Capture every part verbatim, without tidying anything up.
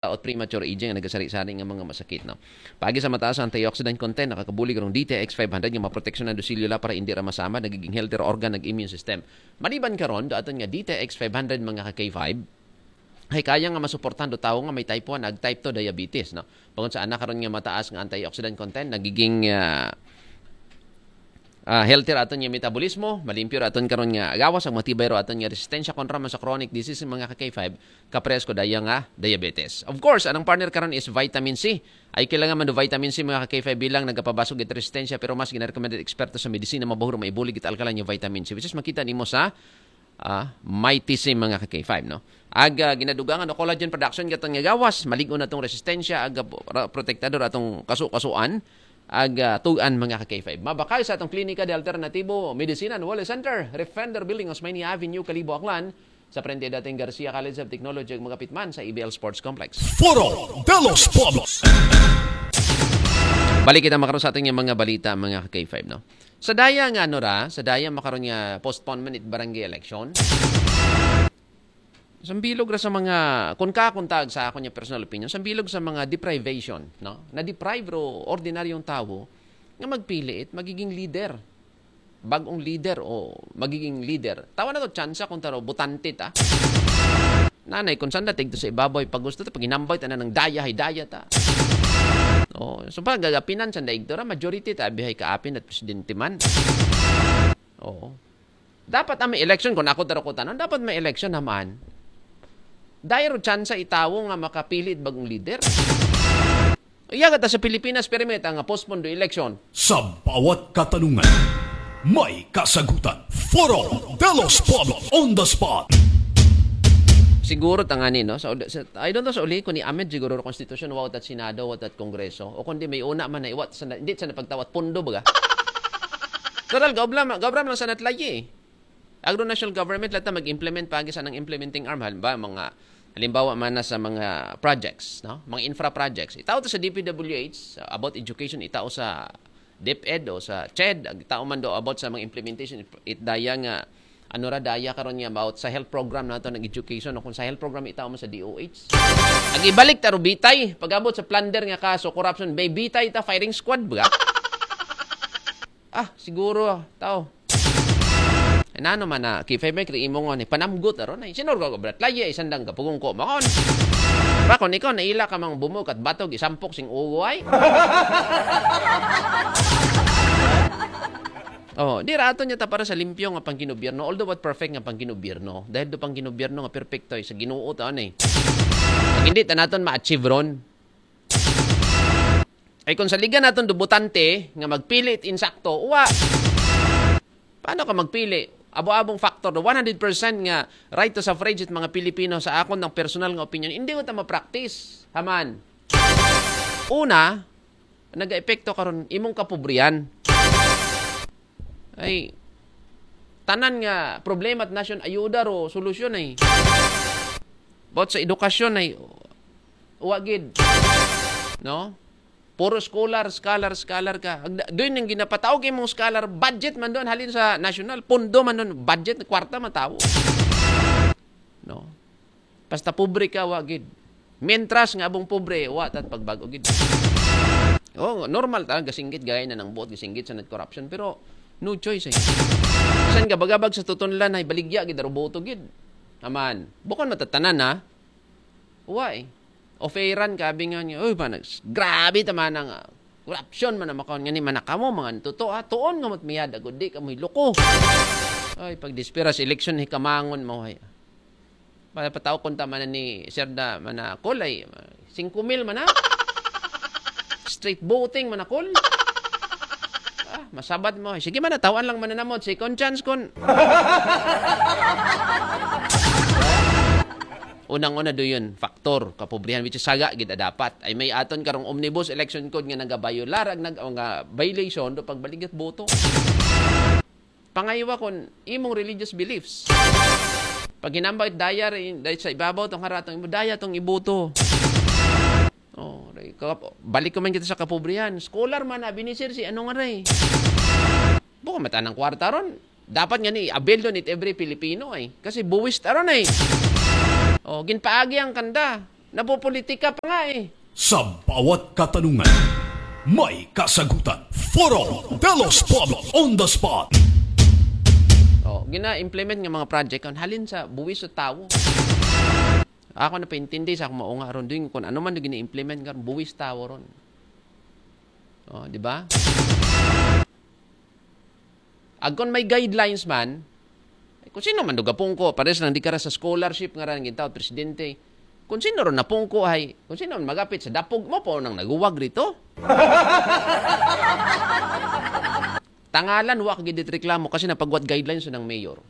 Out premature aging, nagasari-sari nga mga masakit, no? Paagi sa mataas ang antioxidant content, nakakabulig rong D T X five hundred nga maproteksyonan do selula para indi ra masamad, nagiging healthier organ, nag immune system. Maliban karon do aton nga D T X five hundred, mga ka K five, ay kaya nga masuportahan do tawo nga may type one ag type two diabetes, no? Bangod sa anak karon nga mataas nga antioxidant content, nagiging ah, ah, healthy ra aton nga metabolismo, malimpyo ra aton karon nga gawas, ang matibay ra aton nga resistensya kontra man sa chronic disease, mga ka K five, kapares ko daya nga diabetes. Of course, anang partner karon is vitamin C. Ay kailangan man do vitamin C, mga ka K five, bilang nagapabasog it resistensya, pero mas ginarekomenda eksperto sa medisina, mabuhuro maibulig it alkaline nga vitamin C, which is makita nimo sa ah, Mighty C, mga ka K five, no? Ag ah, ginadugangan o collagen production gaton nga gawas, malig-on atong resistensya, ag ah, pro- protektador atong kasu-kasuan, ag ah, tugan, mga ka K five. Mabakal sa atong Klinika de Alternatibo Medicina and Wellness Center, Refender Building, Osmeña Avenue, Kalibo, Aklan, sa frente dating Garcia College of Technology, ug magapit man sa A B L Sports Complex. Foro de los Pueblos. Balik kita makaroon sa ating mga balita, mga ka K five, no? Sa daya nga ano ra, sa daya makaroon nga postponement it barangay election. Sambilog ra sa mga, kun kakuntag sa akon nga personal opinion, sambilog sa mga deprivation, no? Na-deprive ro ordinaryong tawo nga magpili it magiging leader. Bag-ong leader o magiging leader. Tawa na to, tsansa kung taro, botante ta. Nanay, kung saan natigto sa ibabaw, pag gusto ta, pag hinambay ta na ng daya, hay daya ta. Oh, so pag gagapinan sa daigto ra, majority ta, abihay kaapin at presidente man. Oo. Dapat ang may election, kung ako taro ko tanan, dapat may election naman. Dahil ro tsansa itawo nga makapili it bagong leader. Iya gata sa Pilipinas, permit ang postpone do election. Sa bawat katanungan, may kasagutan. Foro de los Pueblos on the spot. Siguro tangani, no? Sa, sa, I don't know sa uli kung ni-amend siguro ro konstitusyon, wa ta Senado, wa ta Kongreso, o kundi may una man na iwat sa, hindi sa napagtawat pundo, baga? Total, gaobra, gaobra lang sa natlayi, eh. Agro national government, lata mag-implement pa sa nang implementing arm. Halimbawa, mga, halimbawa man na sa mga projects, no? Mga infra projects. Itao to sa D P W H, uh, about education, itao sa DepEd o sa CHED, ag itao man do about sa mga implementation, it daya nga, ano ra, daya karon nga about sa health program nato ng education, o kung sa health program, itao man sa D O H. Ag ibalik ta ro bitay, pag-abot sa plunder nga kaso, corruption, bay bitay ta, firing squad, ba? Ah, siguro, tao. Ay, nano man na, K five may kri imo nga ni panamgot aron ay. Sinor ko, brat, laye, ay sandang kapugong ko, makon. Pakon, ikaw, naila ka mang bumog at batog, isampok sing ugo ay. Oh, di raton niya ta para sa limpyo nga pangginobierno, although what perfect nga pangginobierno. Dahil do pangginobierno nga perfecto ay sa Ginoo ta, ano eh. Pag hindi ta naton ma-achieve ron. Ay kung saligan naton do botante nga magpili it insakto, uwa. Paano ka magpili? Abo-abong factor, the one hundred percent nga right to suffrage it mga Pilipino, sa akon ng personal nga opinion, hindi ko ta ma-practice. Haman. Una, nag-epekto karon imong kapobrihan. Ay, tanan nga problema at nasyon, ayuda ro solusyon ay. About sa edukasyon ay, uwa gid. No? Puro scholar, scholar, scholar ka. Ag-, doon yung ginapataw kay mong scholar, budget man doon, halin sa national, pondo man doon, budget, kwarta man tao. No? Basta pobre ka, wa gid. Mientras nga abong pobre, wa tat pagbago gid. Oh, normal ta, gasinggit gaya na ng buot, gasinggit sa net corruption, pero no choice eh. San gabagabag sa tutunlan ay baligya gid, aruboto gid. Aman, bukon matatanan ha. Wa eh. Offeran ka, abi nga niya, uy, pa, nags-, grabe ta man ang, ah, corruption man ang makaon nga ni manakamo, mga totoo ha, tuon nga mat miyada, gud di ka mo'y loko. Ay, pag dispira sa eleksyon, hikamangon mo, ay. Para pataw konta man ni Sir da Manakol ay singko mil man na. Straight voting Manakol. Ah, masabat mo. Sige man, natawan lang mananamot. Second chance kon. Unang-una do yun, factor, kapobrihan, which is saga gid a dapat. Ay may aton karong omnibus election code nga nagabayolar, ag nag-, nga violation do pagbaligat boto. Pangaywa kon imong religious beliefs. Pag hinambay daya rin, dahil sa ibabaw tong haratong imo, daya tong ibuto. Oh, ray, ka-, balik ko man kita sa kapobrihan. Scholar man, abi ni sir, si ano nga ray? Buka mata ng kwarta ron. Dapat nga ni avail doon it every Filipino ay. Kasi buwis ta ron ay. Oh, ginpaagi ang kanda. Napopolitika pa nga eh. Sa bawat katanungan, may kasagutan. Foro de los Pueblos on the spot. Oh, gina-implement nga mga project kon halin sa buwis sa tawo. Ako na paintindi sa akong maunga ron doon kung ano man gina-implement nga buwis tawo ron. Oh, di ba? Agkon may guidelines man, kung sino man dugapong ko, pares lang di ka ra sa scholarship nga ran gintaw presidente. Kung sino ron napungko ay, kung sino man magapit sa dapog mo po nang naguwag rito. Tangalan, wa ka gid reklamo kasi napagwat guidelines ng mayor.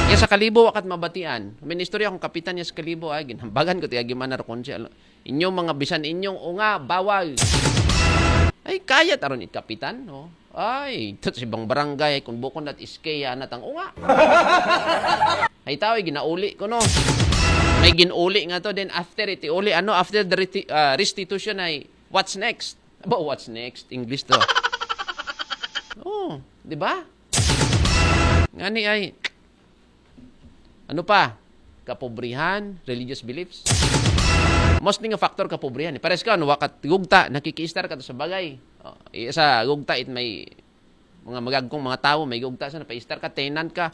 Kaya sa Kalibo, wakat mabatian. May istorya akong kapitan niya sa Kalibo, ay, ginhambagan ko, tiya gimana ro kung siya, inyong mga bisan inyong unga, bawal. Ay, kaya taron it kapitan, no? Ay, ito sa ibang barangay, kung bukon at iske, yan at ang unga. Ay, tao, ginauli ko, no? May ginuli nga to, then after iti uli, ano, after the reti- uh, restitution ay, what's next? Aba, what's next? English to. Oh, di ba? Ngani ay, ano pa? Kapobrihan, religious beliefs. Mostly nga factor kapobrihan. Eh. Pares ka, ano, wakat gugta, nakikiistar ka to sa bagay. Oh, eh, sa gugta, it may mga magagkong mga tawo, may gugta sa napaistar ka, tenant ka.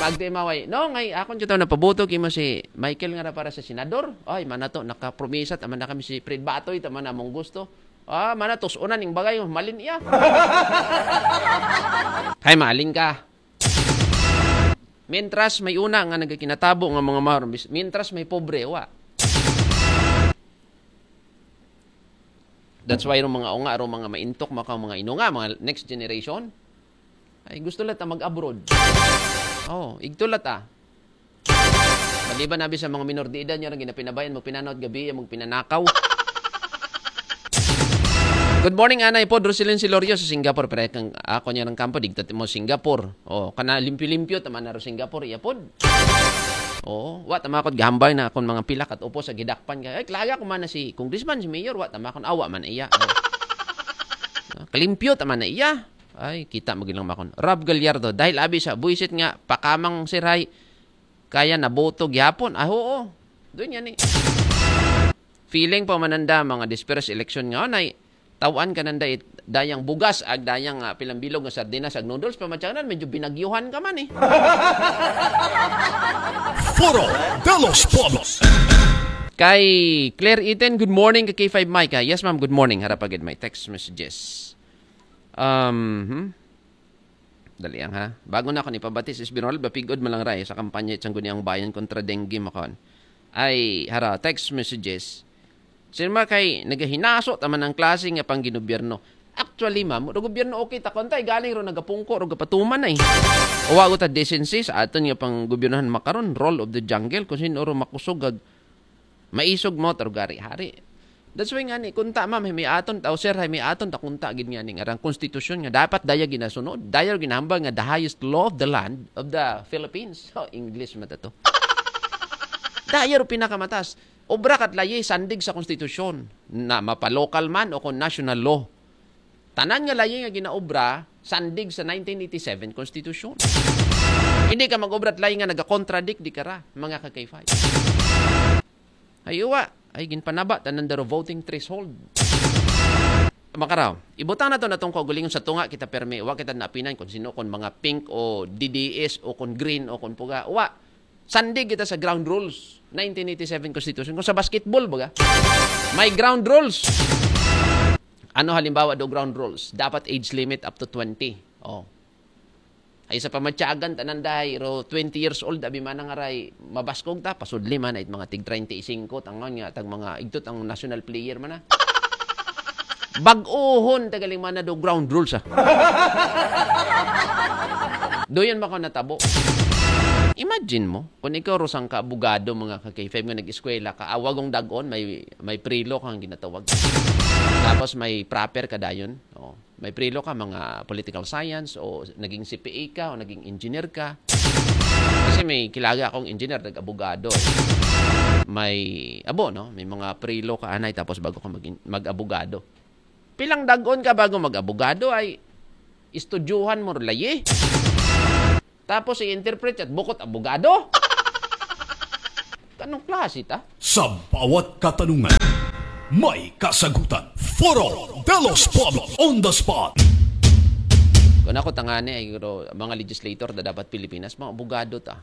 Magdi maway. No, ngay, akon kita napabuto kimo si Michael nga na para sa senador. Ay, mana to, nakapromisa, tama na kami si Fred Batoy, tama na mong gusto. Ah, mana tos unan ning bagay, malin iya. Hay, malin ka. Mientras may una nga nagakinatabo nga mga mahal, mientras may pobre, wa. That's why ro mga unga, ro mga maintok, maka mga inunga, mga next generation, ay gusto lat mag-abroad. Oh, igto lat ah. Maliban na sa mga minor de edad niya rin ginapinabayan, magpinanaw at gabi, magpinanakaw. Good morning, Anay po. Drusilin si Lorio sa Singapore. Pero kang ako niya ng kampo, digta mo Singapore. Oh, kana limpyo-limpyo, tama na ro Singapore, iya pod. Oo, wa tama ko gahambay na akong mga pilak at upo sa gidakpan ka. Ay, klaga ko man na si congressman, si mayor, wa tama akong awa man iya. Oh. Ah, kalimpyo tama na iya. Ay, kita mo gilang makon. Rob Gallardo, dahil abi sa buisit nga pakamang siray, kaya naboto gihapon. Ah, oo. Doon yan eh. Feeling pa mananda mga dispersed election nga, nay, tawan ka nanda it, dayang bugas, ag dayang uh, pilambilog nga sardinas, ag noodles, pamatyanan, medyo binagyuhan ka man eh. Foro de los Pueblos. Kay Claire Iten, good morning kay K five Mike. Ah, yes ma'am, good morning. Harap agad may text messages. Um, hmm? Dali ang ha. Bago na ako ni pabati si Esbirol, bapigod malang ray sa kampanya itsang guni ang bayan kontra dengue makon. Ay, hara, text messages. Sirma kay nagahinaso taman ang klase nga pang ginobyerno. Actually, ma'am, ro gobyerno okay ta kontay galing ro nagapungko ro gapatuman ay. Uwa ko ta decency sa aton nga pang gobyernohan makaron, role of the jungle, kung sino ro makusog ag maisog mo ro gari-hari. That's why nga ni kunta ma'am, may aton ta, o sir, may aton ta kunta gid nga ning arang konstitusyon nga dapat daya ginasunod, daya ginahambal nga the highest law of the land of the Philippines. Oh, English mata to. Daya ro pinakamatas. Obra kat layi sandig sa konstitusyon na mapalokal man o kung national law. Tanan nga layi nga ginaobra sandig sa nineteen eighty-seven Constitution. Hindi ka mag-obra at layi nga nagakontradict di kara, mga ka-K five. Ay uwa, ay ginpanaba tanan daro voting threshold. Makaraw, ibutang na to natong kaugalingon sa tunga kita permi, wa kita napinan kung sino, kung mga pink o D D S o kung green o kung puga. Wa, sandig kita sa ground rules, nineteen eighty-seven Constitution. Kung sa basketball, baga, may ground rules. Ano halimbawa do ground rules? Dapat age limit up to twenty. Oh. Ay sa pamatyagan, tanan dahay, ro twenty years old, abi man nga ray, mabaskog ta, pasudli man, ay mga tig treinta y cinco, tangon nga, tag mga, igtot ang national player man na. Bag-ohon, tagaling man na do ground rules, ah. Do yun maka natabo. Imagine mo, kung ikaw rosang ka abogado, mga ka-K five nga nag-eskwela ka, awagong dagon, may, may prelo kang ginatawag. Tapos may proper ka dayon. Oh. May prelo ka, mga political science, o naging C P A ka, o naging engineer ka. Kasi may kilaga akong engineer, nag-abogado. May, abo, no? May mga prelo ka, anay, tapos bago ka mag- mag-abogado. Pilang dagon ka bago mag-abogado ay istudyuhan mo layi. Tapos i-interpret at bukot abogado. Anong klase ta? Sa bawat katanungan, may kasagutan. Foro de los Pueblos on the spot. Kung ako tangani ay, pero mga legislator da dapat Pilipinas, mga abogado ta.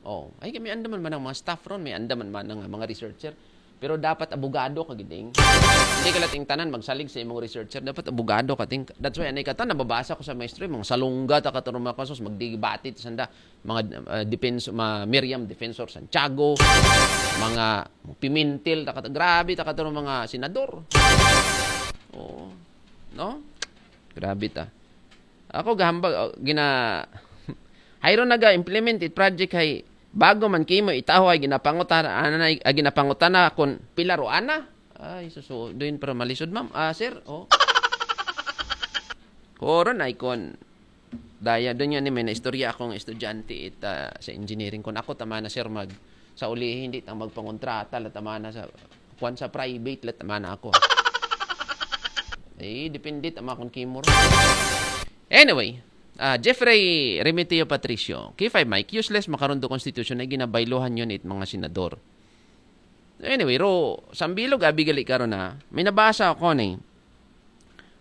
Oh, ay, may andaman man ang mga staff ron, may andaman man ang mga researcher. Pero dapat abogado ka giding. Hindi ka lating tanan magsalig sa imong researcher, dapat abogado ka ting. That's why anay ka ta nababasa ko sa maestro, mga salungga ta katong mga kasos, magdebate ta sanda, mga uh, defense, mga Miriam Defensor Santiago, mga Pimentel ta katong, grabe ta katong mga senador. Oo. No? Grabe ta. Ako gahambag, oh, gina Hayron naga-implement it project hay bago man kimo itaho ay ginapangutana, ana ay, ay ginapangutana kon pila ro ana. Ay, susu, doon para malisod, ma'am. Ah, sir, oh. Koron ay kon daya doon yun, may naistorya akong estudyante it, ah, sa engineering. Kon ako tama na, sir, mag sa uli, hindi tang magpangontrata, la tama na sa kwan sa private, la tama na ako. Eh, depende tama kung kimo ro. Anyway, ah, Jeffrey Remeteo Patricio, K five Mike, useless makaron do constitution ay ginabaylohan yun it mga senador. Anyway, ro, sambilog abi gali karon na, may nabasa ako ni.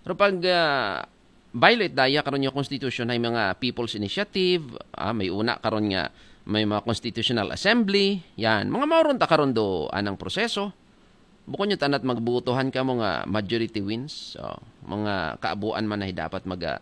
Ro pag ah, violate daya karon yung constitution ay mga people's initiative, ah, may una karon nga may mga constitutional assembly, yan. Mga mauron ta karon do anang proseso. Bukon nyo tanat magbutuhan ka mo nga majority wins. So, mga kaabuan man na dapat maga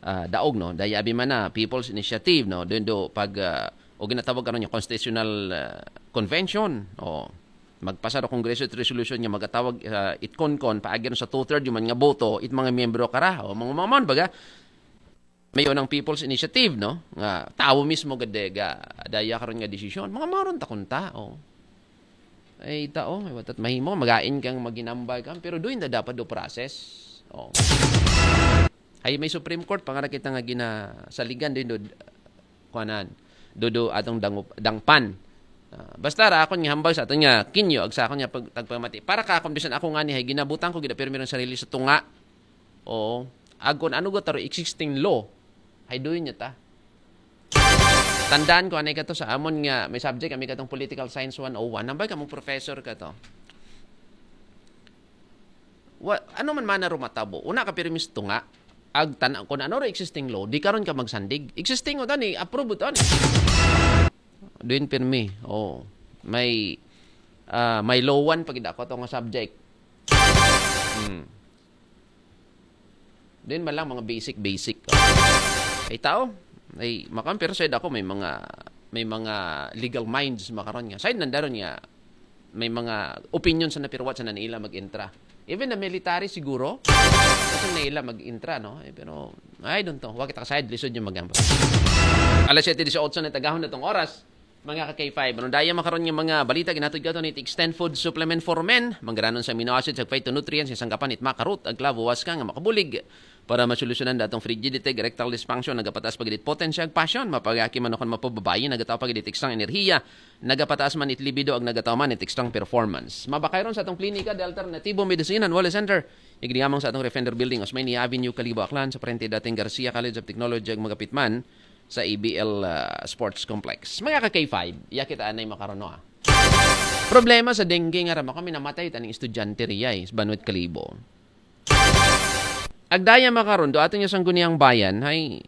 ah, daog, no? Daya abi man na People's Initiative, no? Doon do pag ah, o ginatawag karon yung constitutional ah, convention, o magpasa do Kongreso it resolution nga magatawag uh, it konkon paagi sa two-third yung man nga boto it mga miyembro kara, o mga mamon baga. May unang People's Initiative, no? Nga tawo mismo gade ga daya karon nga desisyon. Mga maron ta kunta, oh. Ay tao, ay watat mahimo, magain kang maginambay kang, pero doon na dapat do process. Oh. Ay may Supreme Court, pangara kita nga ginasaligan doon do, kuanan, do, do atong dangup, dangpan. Ah, basta ra akon nga hambal sa aton nga kinyo, ag sa akon nga pag, tagpamati. Para ka akon bisan ako nga ni hay ginabutang ko gid pero ang sarili sa tunga. Oo. Ag kun ano go taro existing law. Hay doon niya ta. Tandaan ko anay ka to sa amon nga may subject kami katong political science one oh one. Nambay ka mong professor ka to. Wa, ano man mana rumatabo? Una ka pirmis tunga. Ag tan kun ano ro existing law, di karon ka magsandig. Existing o tani, approve o tani. Doon pirmi. Oh. May ah, may lowan pag ako to nga subject. Hmm. Din man lang mga basic basic. Ay tao, ay makan pero side ako may mga may mga legal minds makaron nga. Side nandaron nga may mga opinion sa napirwat sa nanila mag-intra. Even the military siguro, kasi nila mag-intra, no? Eh, pero, I don't know. Wakit side, lisod yung magamba. Alas siyete dieciocho na tagahon na tong oras. Mga ka-K five, ano daya makaron nga mga balita ginatod ka to ni Extend Food Supplement for Men, manggaranon sa amino acids, ag phytonutrients, isang kapan it makarot, ag klavo, was ka nga makabulig para masolusyonan datong frigidity, erectile dysfunction, nagapataas pagidit potensya, ag passion, mapagaki man o kon mapababayi, nagataw pagidit ekstra enerhiya, nagapataas man it libido, ag nagataw man it ekstra performance. Mabakay ron sa atong klinika, The Alternativo Medicine and Wellness Center. Igdiamang sa atong Refender Building, Osmeña Avenue, Kalibo, Aklan, sa parente dating Garcia College of Technology, ag magapit man sa A B L ah, Sports Complex. Mga ka-K five, iya kita anay makarono ah. Problema sa dengue nga rama kami namatay taning estudyante riya eh, sa Banwit Kalibo. Agdaya makaron do ato niya sangguniang bayan hay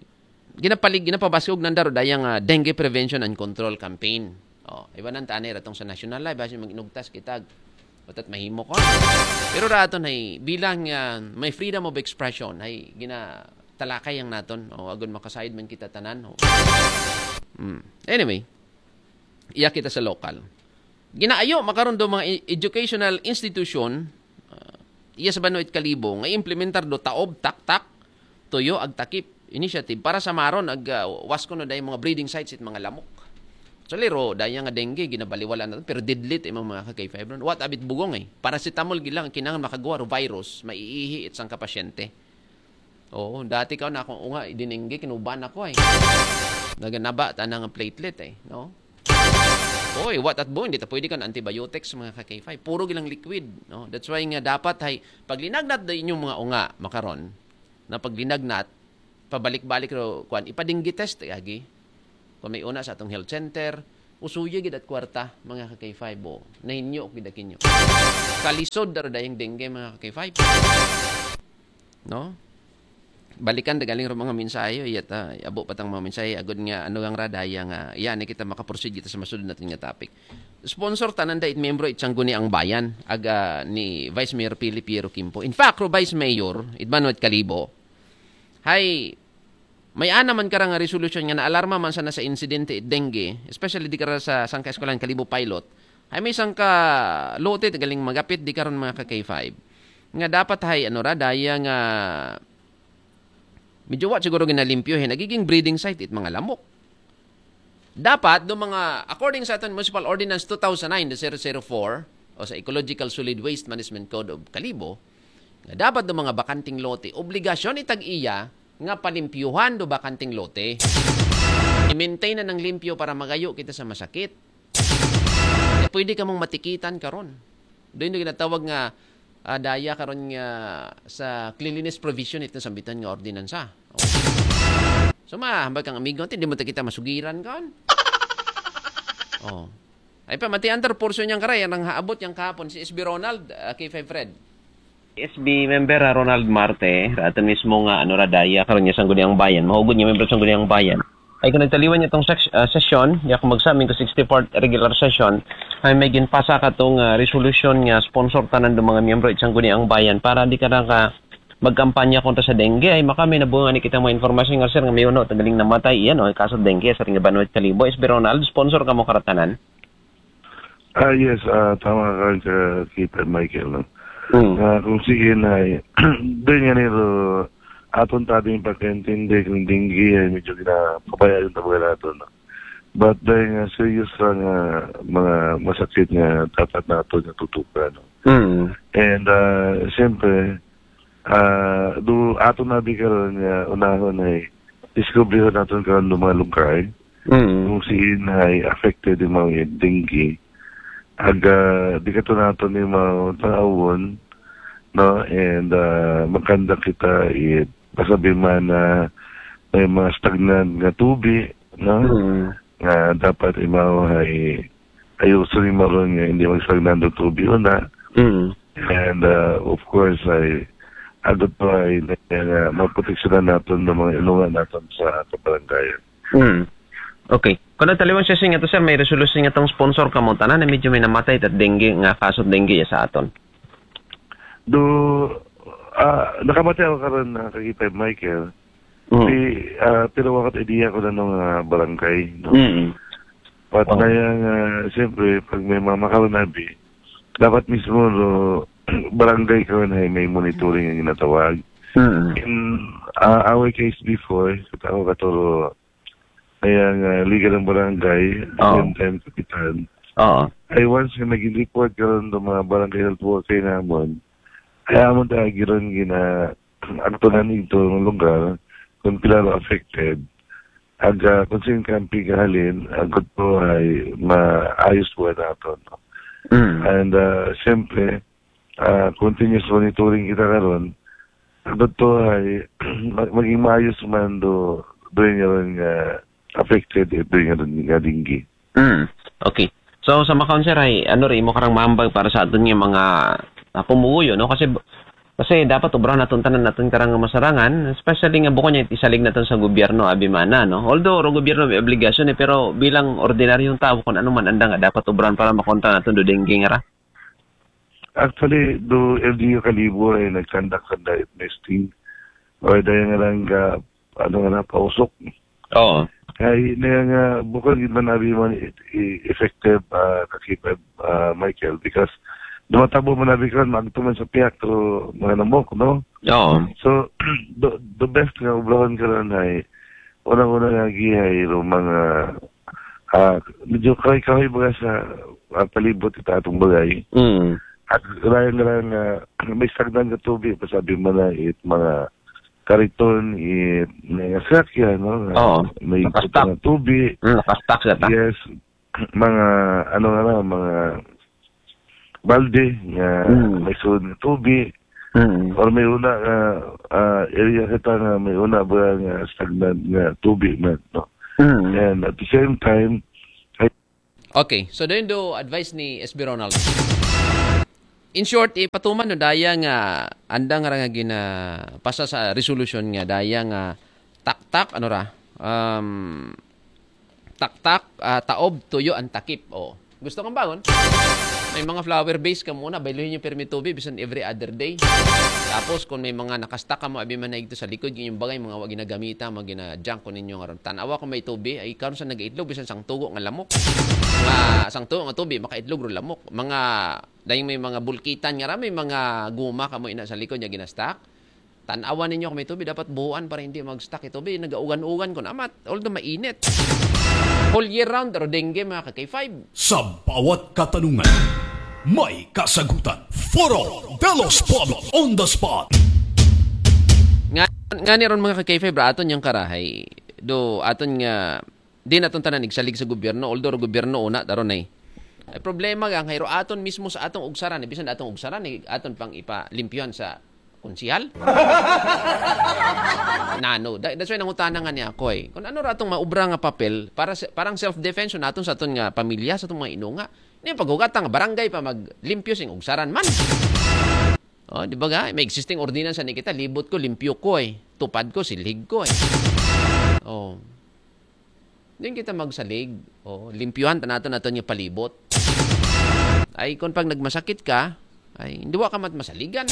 ginapalig ginapabaskog nanda ro daya nga dengue prevention and control campaign. Oh, iba nang tanay ratong sa national live basi mag-inugtas kita. Watat mahimo ko. Pero raton hay bilang ah, may freedom of expression hay gina talakay ang naton. Oh, agon makasayod man kita tanan. Oh. Hmm. Anyway, iya kita sa local. Ginaayo makaron do mga e- educational institution ah, iya sa Banwit Kalibo nga implementar do taob, taktak, tuyo, ag takip initiative para sa maron ag ah, was kuno day mga breeding sites it mga lamok. Actually, ro, daya nga dengue, ginabaliwala na to, pero deadly it imong mga ka-K five ron. What abit bugong eh? Paracetamol gilang, kinahanglan makagawa ro virus, maiihi it sang kapasyente. Oo, dati ka na akong unga, dinengge, kinuban ako eh. Naganaba, tanang platelet eh, no? Oy, what at buong, hindi ta pwede kan antibiotics mga ka-K five. Puro gilang liquid, no? That's why nga dapat hay paglinagnat da inyong mga unga makaron na paglinagnat pabalik-balik ro kuan ipadinggi test agi. Kung may una sa atong health center, Usuya gid at kwarta, mga ka-K five, o. Nahinyo gid akinyo. Kalisod daro dayang dengue, mga ka-K five. No? Balikan da galing ro mga mensahe, iyat, ah, abo pa tang mga mensahe, agod nga, ano gang radaya nga, iya, ni kita makaproceed kita sa masunod natin nga topic. Sponsor tanan da it membro it Sangguniang Bayan, aga ni Vice Mayor Philip Piero Quimpo. In fact, ro Vice Mayor, it Manuel Calibo, hay, may ana man kara nga resolution nga naalarma man sana sa insidente it dengue, especially di kara sa sangka eskwelahan Calibo Pilot, hay may sangka lote galing magapit di karon mga ka-K five. Nga dapat hay, ano ra, daya nga medyo wa siguro ginalimpyo, eh, nagiging breeding site it mga lamok. Dapat, do mga, according sa aton Municipal Ordinance two thousand nine zero zero four, o sa Ecological Solid Waste Management Code of Calibo, nga dapat do mga bakanting lote, obligasyon itag iya nga palimpyuhan do bakanting lote. I-maintain na ng limpyo para magayo kita sa masakit. Eh, pwede ka mong matikitan karon. Doon yung ginatawag nga, ah, daya karon nga sa cleanliness provision itong sambitan nga ordinansa. Oh. So, ma, hambal kang amigo, hindi mo ta kita masugiran kan? Oh. Ay pa, mati under portion niyang karay, ang haabot niyang kahapon, si S B Ronald, ah, K five Fred. S B member, ah, Ronald Marte, ato mismo nga, ano, radaya, karon niya Sangguniang Bayan, mahugod niya membro sa Sangguniang Bayan. Ay, kung nagtaliwan niya tong sec-, ah, sesyon, niya kung magsamin ko sixty-fourth regular session, ay may ginpasa ka tong, ah, resolution nga sponsor tanan do mga miyembro it Sangguniang Bayan para di ka na ka magkampanya kontra sa dengue. Ay, makami na bunga ni kita mga informasyon nga, sir, nga may uno, tagaling namatay, iyan, o, kaso dengue, sa ring Banwet Kalibo. S B Ronald, sponsor ka mo karatanan? Ah, yes, ah, tama ka, ka, kita, Michael, no? Mm. Ah, kung sige na, eh, doon nga nito, aton tating pagkaintindi kung dengue, ay medyo ginapabayaan yung tabagal nato, no? But dahil nga serious ra nga mga masakit nga dapat nato nga tutukan, no? Mm. And, ah, siyempre, ah, do ato na di karon nga unahon ay diskubrihan naton karon do mga lugar Mm. kung siin ay affected yung mga dengue. Aga, di ka to nato ni mga taawon, no? And, ah, magkanda kita it pasabi man na may mga stagnant nga tubi, no? Mm. Nga dapat imaw ay ayuso ni maron nga hindi magstagnant ang tubi una. Mm. And, uh, of course, ay agad pa ay na, na maproteksyonan naton ng mga ilungan naton sa kabarangayan. Mm. Okay. Kung nagtaliwan siya nga to, sir, may resolution nga tong sponsor ka mo tanan na medyo may namatay at dengue nga kaso dengue sa aton. Do, ah, nakamatay ako karon na kakita, Michael. Mm. Di, ah, pero wakat idea ko na nung, ah, barangay, no? Mm. But Oh. na yan, ah, siyempre, pag may mga makarunabi, dapat mismo, no, barangay ka na may monitoring ang ginatawag. Mm. In, ah, our case before, sa tao katuro, kaya nga, legal ng barangay, Oo. same time, kapitan. Oo. Ay, once nga naging report ka ron ng mga barangay health worker namon, ay, amon ta, giron gina, aktunan itong lugar, kung pila ro affected, ag, ah, kung saan kampi kahalin, agad po ay maayos po nato, no? Mm. And, ah, siyempre, ah, continuous monitoring kita karon, agad po ay mag-, maging maayos man do, doon nga ron nga affected, eh, doon nga ron nga dengue. Mm. Okay. So, sa makaon, sir, ay, ano rin, mo karang mambag para sa aton nga mga, ah, pumuguyo, no? Kasi, kasi dapat obrahan naton tanan naton karang masarangan, especially nga bukon niya isalig naton sa gobyerno, abi mana, no? Although, ro gobyerno may obligasyon, eh, pero bilang ordinaryong tao, kung ano man anda nga dapat obrahan para makontra naton do dengue nga ra. Actually, do L G U Kalibo ay nag-conduct sa diet testing. O, dahil nga lang ka, ano nga na, pausok. Oo. Kaya na nga, bukod gid man abi man i-, i-, effective, ah, kakita, ah, Michael, because dumatabo man abi karon, maagto man sa piyak, pero mga namok, no? Oo. So, the, the best nga obrahon karon ay, unang-una nga gihay, ro mga, ah, medyo kahoy-kahoy baga sa, ah, palibot ita atong bagay. Mm. At rayang-rayang, ah, may stagnant nga tubig, pasabi mo na, it mga kariton, it mga sakyan, no? Oo. May Nakastak. kuta nga tubig. Mm, nakastak sa ta. Yes. Mga, ano nga na, mga balde nga Mm. may sulod nga tubig. Mm. Or may una nga, ah, area kita nga may una ba nga stagnant nga tubig man, no? Mm. And at the same time, ay, Okay, so dayon do advice ni S B Ronald. In short, ipatuman no daya nga andang ra nga ginapasa sa resolution nga daya nga taktak, ano ra, um, taktak, ah, taob, tuyo, ang takip. Oh. Gusto kang bangon? May mga flower base ka muna, bayluhin yung permi tubi, bisan every other day. Tapos, kung may mga nakastak ka mo, abi man na ito sa likod, yung bagay, mga wag ginagamita, mga gina-junk ko ninyo nga ron. Tanawa kung may tubi, ay karon sa nagaitlog, bisan sang tugo nga lamok. Nga, sang tugo nga tubi, makaitlog ro lamok. Mga, dayong may mga bulkitan nga ra, may mga guma ka mo ina sa likod niya ginastak. Tanawan ninyo kung may tubi, dapat buhuan para hindi mag-stuck ito. Bi, nagaugan-ugan ko namat. Although mainit. Whole year round, pero dengue, mga ka-K five. Sa bawat katanungan, may kasagutan. Foro de los Pueblos on the spot. Nga, nga ni ron, mga ka-K five, ra aton yung karahay. Do, aton nga, di naton tanan igsalig sa gobyerno, although gobyerno una, taron ay. Ay problema gang, hayro aton mismo sa atong ugsaran, eh, bisan atong ugsaran, eh, aton pang ipalimpyuhan sa konsihal. Nano, da- that's why nangutana nga niya ako eh. Kung ano ra atong maubra nga papel, para sa- parang self-defense naton sa aton nga pamilya, sa atong mga inunga. Ni paghugatan nga barangay pa maglimpyo sing ugsaran man. Oh, di ba ga? May existing ordinance ni kita, libot ko, limpyo ko eh. Tupad ko, silhig ko eh. Oh. Din kita magsalig. Oh, limpyuhan ta naton aton nga palibot. Ay, kung pag nagmasakit ka, ay, hindi wa ka mat masaligan.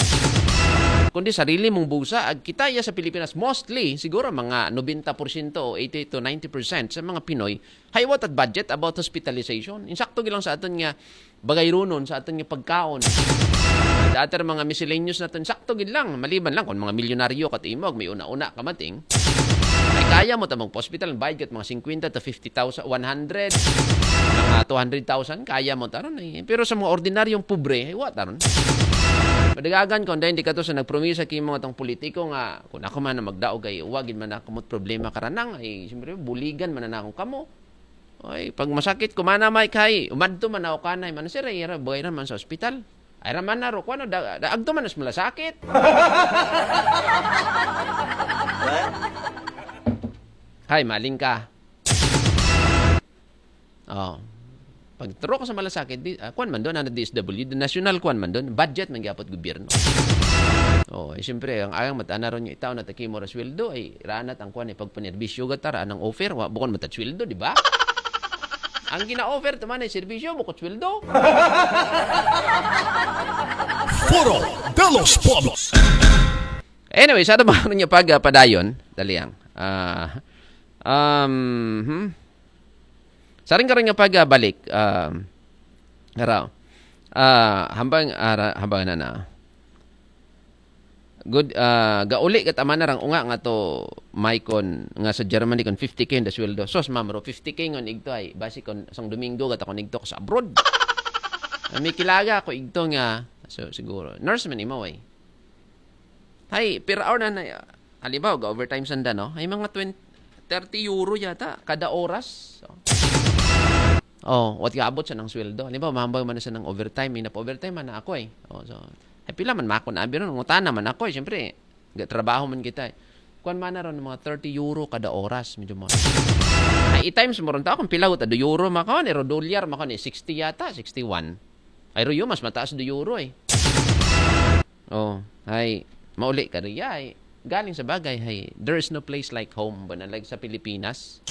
Kundi sarili mong busa, ag kita iya sa Pilipinas, mostly, siguro mga ninety percent o eighty to ninety percent sa mga Pinoy, haywat at budget about hospitalization. Insakto gilang sa aton nga bagay runon, sa aton nga pagkaon. Sa aton mga miscellaneous naton, sakto gid lang. Maliban lang kung mga milyonaryo kat imog, may una-una kamating. Ay kaya mo tamang hospital, ang bayad kat mga fifty thousand, one hundred, mga two hundred thousand, kaya mo taron eh. Pero sa mga ordinaryong pobre, ay wa taron. Madagagan ko, dahil di ka to sa nagpromisa kimo atong politiko nga, kung ako man na magdaog ay, wagin man ako mo't problema karanang, ay, siyempre, buligan man na akong kamo. Ay, pag masakit ko, mana may kay, umadto man ako kanay, man, sir, ay, ira, bagay naman sa ospital. Ay, raman na ro, kuwan, da, da, agto man as malasakit. Hay, maling ka. Oh. Pag turo ko sa malasakit, di, ah, kuwan man doon, ano, D S W, the national kuwan man doon, budget man gyapot gobyerno. Oh, eh, siyempre, ang ayang matana ron yung itaw na takimo ra sweldo, ay ranat ang kuwan, ay pagpanerbisyo gatar, anang offer, wa, bukon matat sweldo, di ba? Ang gina-offer, taman ay serbisyo, bukot sweldo. Foro de los Pueblos. Anyway, sa naman niya pag ah, padayon, daliang. Ah, um, hmm? Sa rin karon nga pagbalik, um, araw. Ah, hambang, ara, hambang na na. Good, ah, gauli kat ama na rang unga nga to, Maicon, nga sa Germany kon fifty K ang sweldo. Sos, ma'am, ro, fifty K ngon igto ay, basi kon sang Domingo gat ako nigto ko sa abroad. Ah, may kilaga ako igto nga, so, siguro, nurse man imo eh. Hay, per hour na na, halimbawa, ga-overtime sanda, no? Ay mga twenty, thirty euro yata, kada oras. So, oh, what kaabot sa nang sweldo? Halimbawa, mahambang man sa nang overtime, may napa-overtime man na ako eh. Oh, so, ay pila man mako na abi ron, ngutana man ako eh. Siyempre, ga-, trabaho man kita eh. Kuan man na ron, mga thirty euro kada oras, medyo mo. Ay, i-times mo ron ta, kung pila ta, do euro makaon, ero dolyar makaon eh, sixty yata, sixty-one. Ay, ro yun, mas mataas do euro eh. Oh, ay, mauli ka riya ay. Galing sa bagay, hay, there is no place like home, ba na, like sa Pilipinas.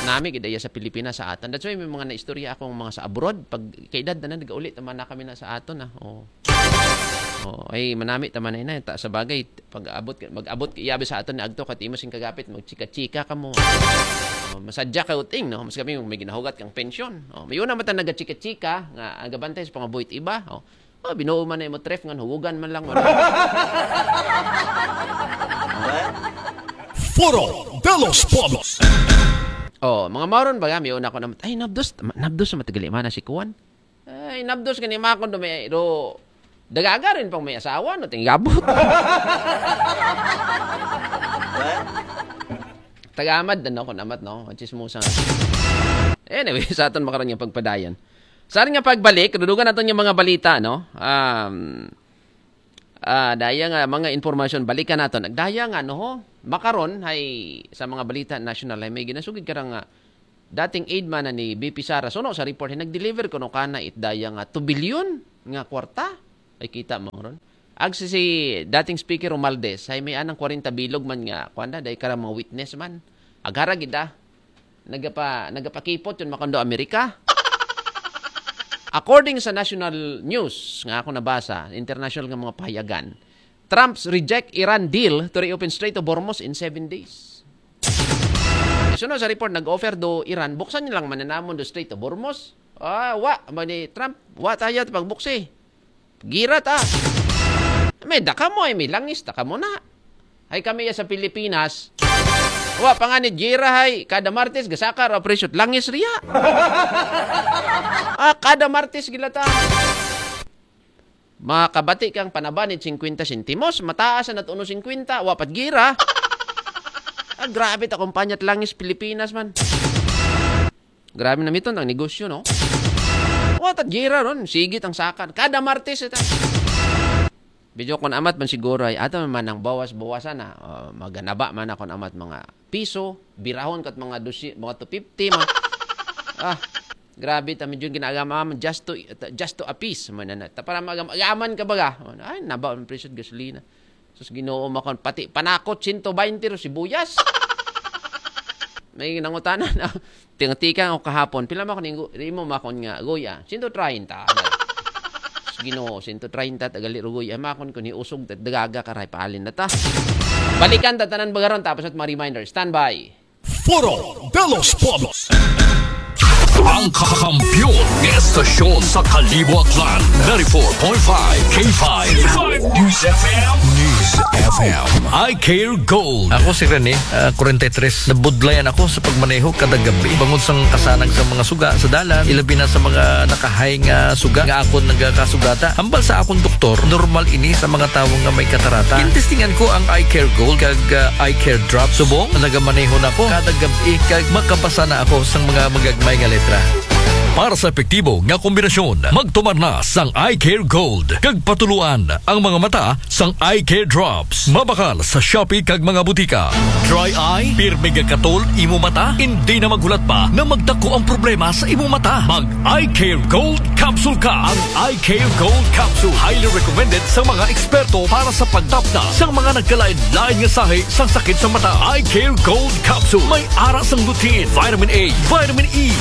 Nami gid iya sa Pilipinas sa atan. That's why may mga naistorya akong mga sa abroad, pag kaedad na nagauli, tama na kami na sa aton ah. Oh. Oh, ay manami tama na ina ta sa bagay pag abot mag-abot iyabi sa aton na agto kat imo sing kagapit magchika-chika ka mo. Oh, masadya ka uting no, mas kami may ginahugat kang pensyon. Oh, may una mata nagachika-chika nga agabantay sa pangabuhit iba. Oh, oh binuo man na imo tref ngan hugugan man lang mo. Foro de los Pueblos. Oh, mga maron ba may una ko na ay nabdos nabdos sa matagali man na si kuan. Ay, nabdos ka ni Makon do may do dagaga rin pang may asawa no tinggabot. Tagamad din ako namat no, chismosa. Anyway, sa aton makaron nga pagpadayon. Sa nga pagbalik, dudugan naton yung mga balita no. Um, ah, daya nga mga informasyon balikan naton. Nagdaya nga no ho. Makaron hay sa mga balita national ay may ginasugid karang nga dating aide man na ni V P Sara, suno sa report, nag-deliver kuno kana it daya nga two billion nga kwarta. Ay, kita mo ron. Ag si, si dating speaker Romualdez, ay may anang forty bilog man nga, kuwan na, dahil ka mga witness man. Agara gid ah. Nagapa, nagapakipot yun makondo Amerika. According sa national news nga ako nabasa, international nga mga pahayagan, Trump's reject Iran deal to reopen Strait of Hormuz in seven days. Sunod sa report, nag-offer do Iran, buksan nilang mananamon do Strait of Hormuz. Ah, wa, ba ni Trump, wa tayo pagbuksi. Gira ta. May daka mo, ay may langis, daka mo na. Ay kami ya sa Pilipinas. Wa pa nga ni gira, hay, kada Martes, gasaka, ra, presyo, langis riya. Ah, kada Martes, gilata. Makabati kang panabanid fifty sentimos, mataas na uno fifty, wa pat gira. Ah, grabe ta kumpanya at langis Pilipinas man. Grabe na miton ang negosyo, no? Wa ta gira ron, sigit ang sakan. Kada Martes ita. Video kon amat man siguro ay ato man ang bawas-bawasan na. Uh, maganaba man akon amat mga piso, birahon kat mga dusi, mga two fifty man. Ah, grabe ta medyo ginagama man just to just to appease man na. Ta para magam agaman ka baga. Ay, naba ang presyo gasolina. Sus, Ginoo makon pati panakot siyento baynte ro sibuyas. May nangutana na. Tingtika ako kahapon, pila makon imo makon nga guya? Siyento treinta. Sus, Ginoo, siyento treinta tagali ro guya. Makon ko ni usog dagaga karay palin na ta. Balikan ta tanan bagaron tapos at mga reminder. Standby. Foro de los Pueblos. Ang kakampiyon ng estasyon sa Kalibo Aklan, ninety-four point five K five News F M. News F M. I Care Gold. Ako si Rene, ah, forty-three. Nabudlayan ako sa pagmaneho kada gabi. Bangod sa kasanag sa mga suga sa dalan, ilabi na sa mga nakahay nga suga nga akon nagakasugata. Hambal sa akong doktor, normal ini sa mga tawo nga may katarata. Intestingan ko ang Eye Care Gold kag, ah, Eye Care Drop. Subong, nagamaneho na ko kada gab-i kag makabasa na ako sa mga magagmay nga letra. Para sa epektibo nga kombinasyon, magtumar na sang Eye Care Gold kag patuluan ang mga mata sang Eye Care Drops. Mabakal sa Shopee kag mga butika. Dry eye? Pirmi gakatol imo mata? Hindi na maghulat pa na magdako ang problema sa imo mata. Mag Eye Care Gold Capsule ka. Ang Eye Care Gold Capsule highly recommended sa mga eksperto para sa pagtapna sa mga nagkalain-lain nga sahi sa sakit sa mata. Eye Care Gold Capsule may ara sang lutein, vitamin A, vitamin E,